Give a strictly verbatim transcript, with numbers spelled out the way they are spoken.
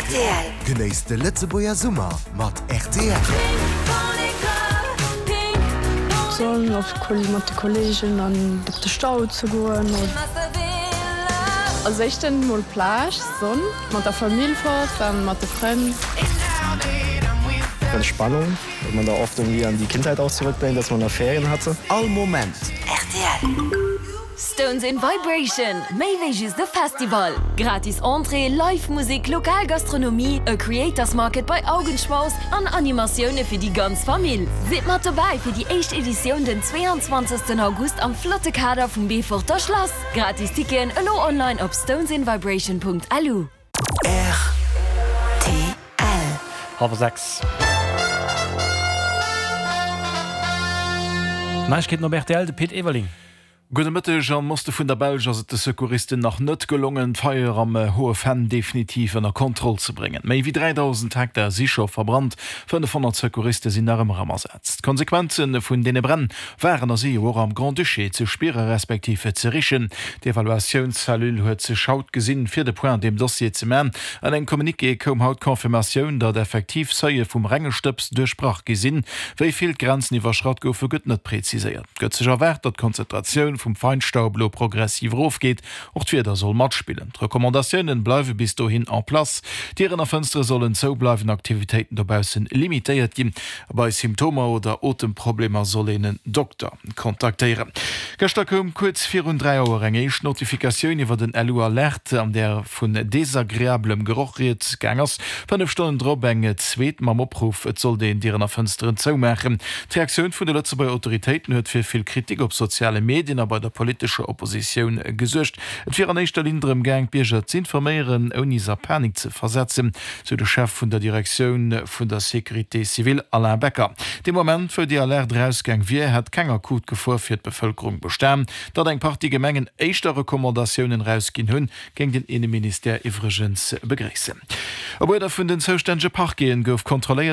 Rtl. Genéisst de Lëtzebuerger Summer mat rtl. D'Sonn, op mat de Kolleegen an op de Stau ze goen. Als éischten mol Plage, Sonn, mat der Famill fort an mat de Frënn. Entspannung, weil man da oft irgendwie an die Kindheit auch zurückdenkt, dass man da Ferien hatte. All Moment. Rtl. Stones in Vibration, méi wéi just e Festival. Gratis Entrée, Live-Musek, lokal Gastronomie, e Creators Market bei Augenschmaus an Animatioune fir déi ganz Famill. Sidd mat dobäi fir déi éischt Editioun den zweeanzwanzegsten August am flotte Kader vum Beeforter Schlass. Gratis Ticketen elo online op stonesinvibration.lu. Rtl. Hallwer sechs. Neiegkeeten op rtl, de Pit Everling. Gudde Mëtteg, Am Oste vun der Belsch ass et de Secouristen nach net gelongen, d'Feier am Hohe Venn definitiv ënner Kontroll ze bréngen. Méi wéi dräidausend Hektar si scho verbrannt, fënnefhonnert Secouriste sinn nach ëmmer am Asaz. D'Konsequenze vun deene Bränn waren a si jo och am Grand-Duché ze spiere respektiv ze richen. D'Evaluatiounscellule huet sech haut gesinn, fir de Point an deem Dossier ze man. An engem Communiqué koum haut d'Confirmatioun, datt effektiv Seuile vum renge Stëbs duerchbrach gi sinn. Wéi vill d'Grenzen iwwerschratt goufe, gëtt net preziséiert. Et gëtt sech erwaart, datt d'Konzentratioun vum Feinstaub elo progressiv erofgeet. Och d'Wieder soll matspillen. D'Recommandatiounen bleiwe bis dohin en place, Dieren a Fënstere sollen zou bleiwen, Aktivitéiten dobaussen limitéiert ginn a bei Symptomer oder Otemproblemer soll een en Dokter kontaktéieren. Gëschter koum kuerz virun dräi Auer eng éischt Notifikatioun iwwer den LU-Alert, an där vun desagreablem Geroch rieds gaang ass. Fënnef Stonnen drop eng zweet mam Opruff, et sollt een Dieren a Fënsteren zoumaachen. D'Reaktioun vun de Lëtzebuerger Autoritéiten huet fir vill Kritik op soziale Medien a bei der politescher Oppositioun gesuergt. Et wier an éischter Linn drëm gaang, d'Bierger z'informéieren, ouni se a Panik ze versetzen, sou de Chef vun der Direktioun vun der Sécurité civile Alain Becker. Dee Moment, wou déi Alerte erausgaang wier, hätt keng akut Gefor fir d'Bevëlkerung bestan. Datt eng Partie Gemengen éischter Recommandatiounen erausginn hunn, géing den Inneministère iwwregens begréissen. Op Uerder vun den zoustännege Parqueten gouf kontrolléiert.